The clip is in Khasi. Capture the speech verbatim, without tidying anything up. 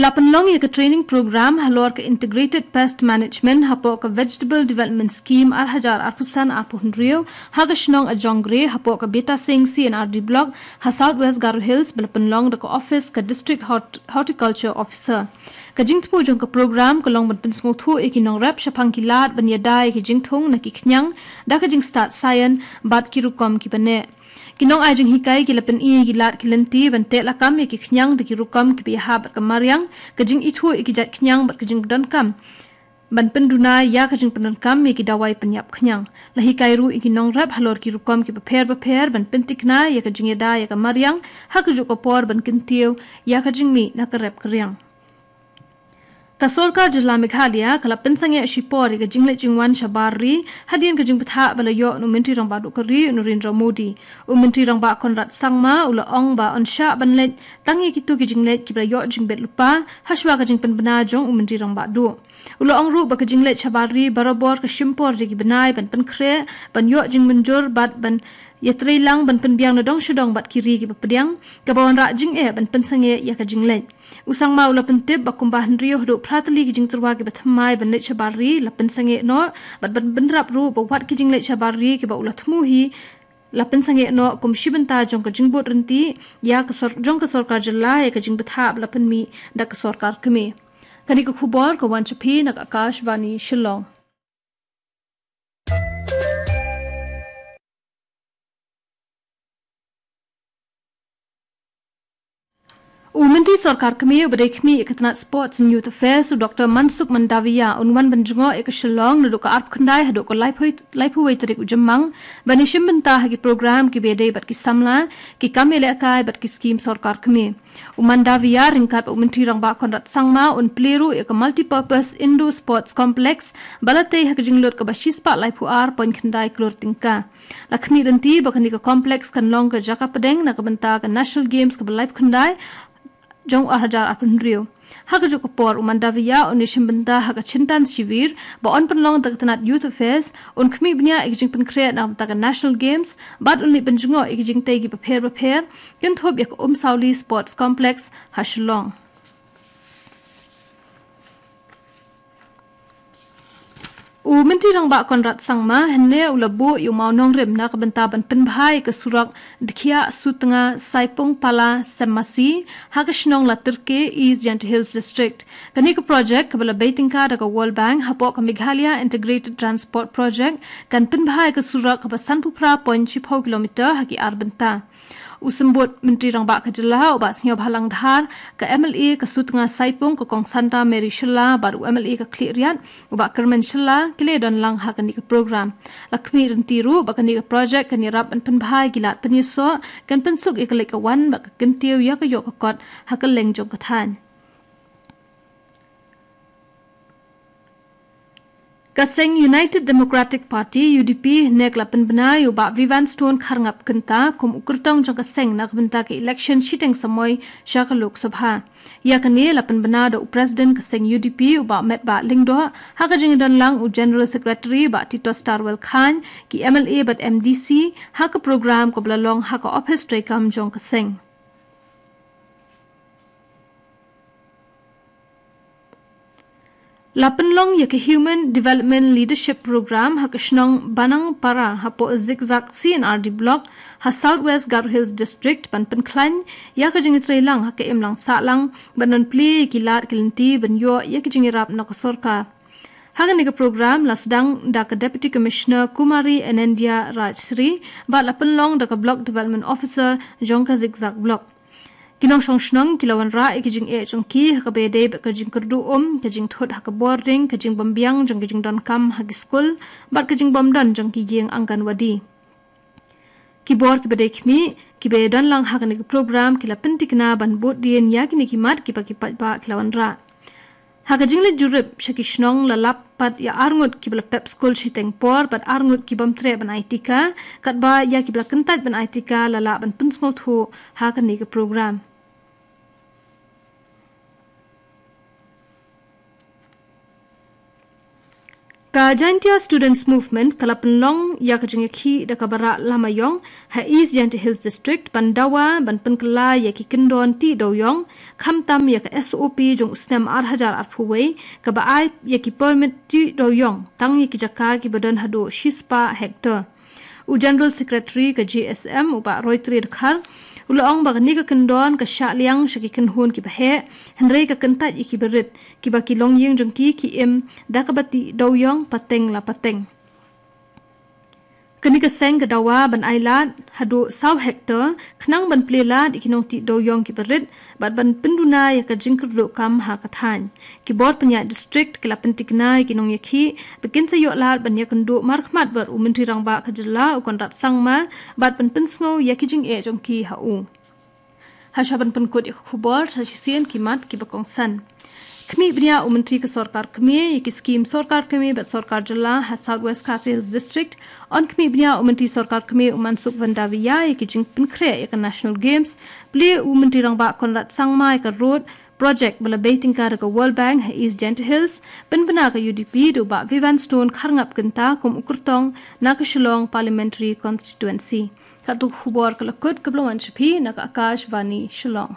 La pynlong ïa ka training program halor ka Integrated Pest Management hapoh ka Vegetable Development Scheme ar hajar arphew san arphew hynriew ha ka shnong Ajongre hapoh ka Beta Singh C and R D Block ha South West Garo Hills, ba la pynlong da ka office ka District Hort-, Horticulture Officer. Ka jingthmu jong ka program ka long ban pynsngewthuh ïa ki nongrep shaphang ki lad ban ïada ïa ki jingthung na ki khñiang da ka jingstad science bad ki rukom kiba neh. Ki nongai jinghikai ki la pyni ïa ki lad ki lynti ban teh lakam ïa ki khñiang da ki rukom kiba ïahap bad ka mariang, ka jingithuh ïa ki jait khñiang bad ka jingdonkam ban pynduna ïa ka jingpyndonkam ïa ki dawai pynïap khñiang. La hikai ruh ïa ki nongrep halor ki rukom kiba pher bapher ban pyntikna ïa ka jingïada ïa ka mariang ha kajuh ka por ban kyntiew ïa ka jingmih na ka rep ka riang. Ka Sorkar Jylla Meghalaya ka la pynsangeh shipor ïa ka jingleit jingwan shabar ri hadien ka jingbthah ba la ïoh na u Myntri Rangbah Duh ka ri, u Narendra Modi. U Myntri Rangbah Conrad Sangma u la ong ba yn shah ban leit tang ïa kito ki jingleit kiba la ïoh jingbit lypa hashwa ka jingpynbna jong u Myntri Rangbah Duh. U la ong ruh ba ka jingleit shabar ri barabor ka shim por da ki bnai ban pynkhreh, ban ïoh jingmynjur bad ban ïatreilang ban pynbiang na dong sha dong bad ki ri kiba pdiang, kaba wanrah jingeh ban pynsangeh ïa ka jingleit. U Sangma u la pyntip ba kumba hynriew haduh phra tylli ki jingtyrwa kiba thymmai ban leit shabar ri la pynsangeh noh, bad ban bynrap ruh ba wat ki jingleit shabar ri kiba u la thmu hi la pynsangeh noh kum shi bynta jong ka jingbud ryntih ïa ka sor-, jong ka sorkar jylla ïa ka jingbthah ba la pynmih da ka sorkar kmie. Kane ka khubor ka wan sha phi na ka Akashvani Shillong. U Myntri Sorkar Kmie uba dei khmih ïa ka tnat Sports and Youth Affairs, u Doctor Mansukh Mandaviya, un wan ban jngoh ïa ka Shillong naduh ka arphew khyndai haduh ka laiphew, laiphew wei tarik u Jymmang, ban ïashim bynta ha ki program kiba ïadei bad ki samla, ki kam ïalehkai bad ki skim sorkar kmie. U Mandaviya ryngkat bad u Myntri Rangbah Conrad Sangma un plie ruh ïa ka Multipurpose Indoor Sports Complex ba la tei ha ka jinglut kaba shispah laiphew ar point khyndai klur tyngka. La khmih lynti ba kane ka complex kan long ka jaka pdeng na ka bynta ka National Games kaba laiphew khyndai jong u ar hajar arphew hynriew. Ha kajuh ka por u Mandaviya un ïashim bynta ha ka Chintan Shivir ba yn pynlong da ka tnat Youth Affairs, un khmih bniah ïa ka jingpynkhreh na ka bynta ka National Games bad un leit ban jngoh ïa ka jingtei kiba pher bapher, kynthup ïa ka Umsawli Sports Complex ha Shillong. U Myntri Rangbah Conrad Sangma hynne u la buh ïa u mawnongrim na ka bynta ban pynbha ïa ka surok Dkhiah Sutnga Saipung Pala Semmasi ha ka shnong Latyrke, East Jaintia Hills District. Kane ka project kaba la bei tyngka da ka World Bank hapoh ka Meghalaya Integrated Transport Project kan pynbha ïa ka surok kaba sanphew phra point shiphew kilometer ha ki ar bynta. U Symbud Myntri Rangbah ka jylla u Bah Sniawbhalang Dhar, ka M L A ka Sutnga Saipung ka Kong Santa Mary Shylla bad u M L A ka Khliehriat u Bah Kyrmen Shylla ki la ïadon lang ha kane ka program. La khmih lynti ruh ba kane ka project kan ïarap ban pynbha ïa ki lad pynïasoh, kan pynsuk ïa ka leit ka wan bad ka kyntiew ïa ka ïoh ka kot ha kylleng jong ka thaiñ. Ka seng United Democratic Party, U D P, hynne ka la pynbna ïa u Bah Vivian Stone Kharngap Kynta kum u kyrtong jong ka seng na ka bynta ka election shiteng samoi sha ka Lok Sabha. Ïa kane la pynbna da u President ka seng U D P u Bah Metbah Lyngdoh ha ka jingïadon lang u General Secretary Bah Tito Starwell Chyne, ki M L A bad M D C ha ka program kaba la long ha ka ophis treikam jong ka seng. La pynlong ïa ka Human Development Leadership Program ha ka shnong Banangpara hapoh Zikzak C and R D Block ha South West Garo Hills District ban pynkhlaiñ ïa ka jingïatreilang ha ka imlang sahlang ban plie ïa ki lad ki lynti ban ïoh ïa ka jingïarap na ka sorkar. Ha kane ka program la sdang da ka Deputy Commissioner Kumari Anandya Rajsri bad la pynlong da ka Block Development Officer jong ka Zikzak Block. Ki nongshong shnong ki la wanrah ïa ka jingeh jong ki ha kaba ïadei bad ka jingkyrduh um, ka jingthut ha ka bording, ka jingbymbiang jong ka jingdonkam ha ki skul bad ka jingbymdon jong ki ïing Anganwadi. Ki bor kiba dei khmih kiba ïadon lang ha kane ka program ki la pyntikna ban bud dien ïa kine ki mat kiba ki paidbah ki la wanrah. Ha ka jingleit jurip sha ki shnong la lap pat ïa arngut kiba la pep skul shiteng por bad arngut ki bym treh ban ai tika, katba ïa kiba la kyntait ban ai tika la lah ban pynsngewthuh ha kane ka program. Ka Jaintia Students Movement ka la pynlong ïa ka jingïakhih da ka Barak Lama Ïong ha East Jaintia Hills District ban dawa ban pynkylla ïa ki kyndon tih dewiong, khamtam ïa ka S O P jong u snem ar hajar arphew wei, kaba ai ïa ki permit tih dewiong tang ïa ki jaka kiba don haduh shispah hektar. U General Secretary ka J S M, u Bah Roytree Dkhar, u la ong ba kane ka kyndon ka shah liang sha ki kynhun kiba heh, hynrei ka kyntait ïa kiba rit, kiba ki longïing jong ki ki im da kaba tih dewiong pateng la pateng. Kane ka seng ka dawa ban ai lad haduh saw hektar, khnang ban plie lad ïa ki nongtih dewiong kiba rit, bad ban pynduna ïa ka jingkyrduh kam ha ka thaiñ. Ki bor pynïaid district ki la pyntikna ïa ki nongïakhih ba kin sa ïoh lad ban ïakynduh markhmat bad u Myntri Rangbah ka jylla u Conrad Sangma, bad ban pynsngew ïa ki jingeh jong ki ha u. Hashwa ban pynkut ïa ka khubor, sa shisien ki mat kiba kongsan. Khmih bniah u Myntri ka Sorkar Kmie ïa ki skim Sorkar Kmie bad Sorkar Jylla ha South West Khasi Hills District. Yn khmih bniah u Myntri Sorkar Kmie u Mansukh Mandaviya ïa ki jingpynkhreh ïa ka National Games. Plie u Myntri Rangbah Conrad Sangma ïa ka road project ba la bei tyngka da ka World Bank ha East Jaintia Hills. Pynbna ka U D P da u Bah Vivian Stone Kharngap Kynta kum u kyrtong na ka Shillong Parliamentary Constituency. Katto ka khubor ka la kut, kaba la wan sha phi na ka Akashvani Shillong.